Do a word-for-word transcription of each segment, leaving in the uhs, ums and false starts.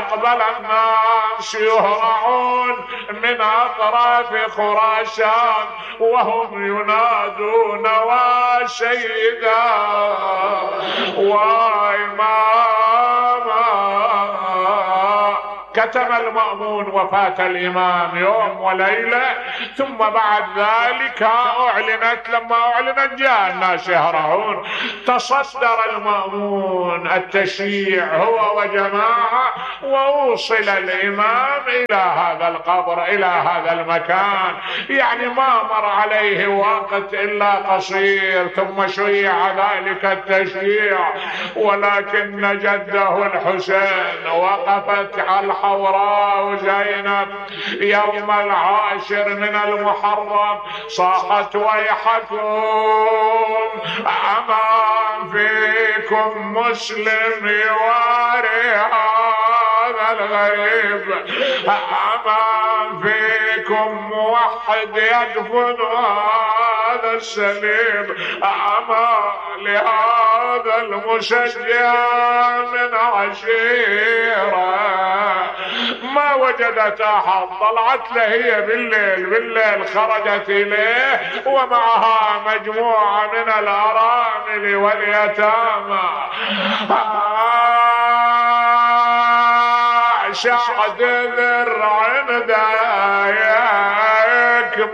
أقبل الناس يهرعون من أطراف خراسان وهم ينادون وسيدا وإماما. كتم المأمون وفاة الإمام يوم وليلة، ثم بعد ذلك أعلنت، لما أعلنت جاء الناس يهرعون. تصدر المأمون التشييع هو وجماعة، ووصل الإمام إلى هذا القبر، إلى هذا المكان، يعني ما مر عليه وقت إلا قصير ثم شيع ذلك التشييع. ولكن جده الحسين وقفت على الحوراء زينب يوم العاشر من المحرم، صاحت ويحكم أما فيكم مسلم يواري هذا الغريب، أما فيكم موحد يدفن هذا السليم، أما لهذا المشجع من عشيرة ما وجدت أحد. طلعت له هي بالليل، بالليل خرجت إليه ومعها مجموعة من الأرامل واليتامى. شعد ذرع دايك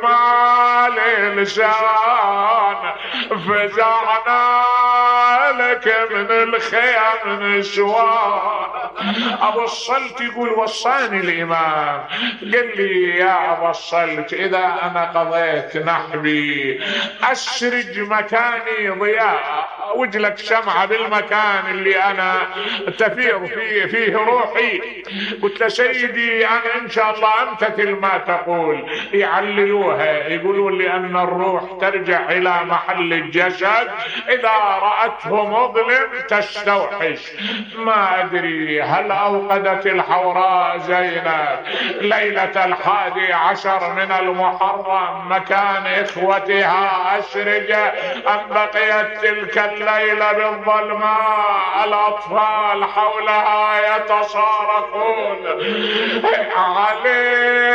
مال لسان، فزعنا لك من الخيام نسوان. أبو الصلت يقول وصاني الإمام، قال لي يا أبو الصلت إذا أنا قضيت نحبي أسرج مكاني ضياء، وجلك شمعة بالمكان اللي أنا تفيض فيه, فيه روحي. قلت له سيدي أنا إن شاء الله أمتثل ما تقول. يعللوها يقولون لأن الروح ترجع إلى محل الجسد، إذا رأته مظلم تستوحش. ما أدري هل أوقدت الحوراء زينب ليلة الحادي عشر من المحرم مكان إخوتها أسرجة، أم بقيت تلك الليلة بالظلماء الأطفال حولها يتصارخون عليه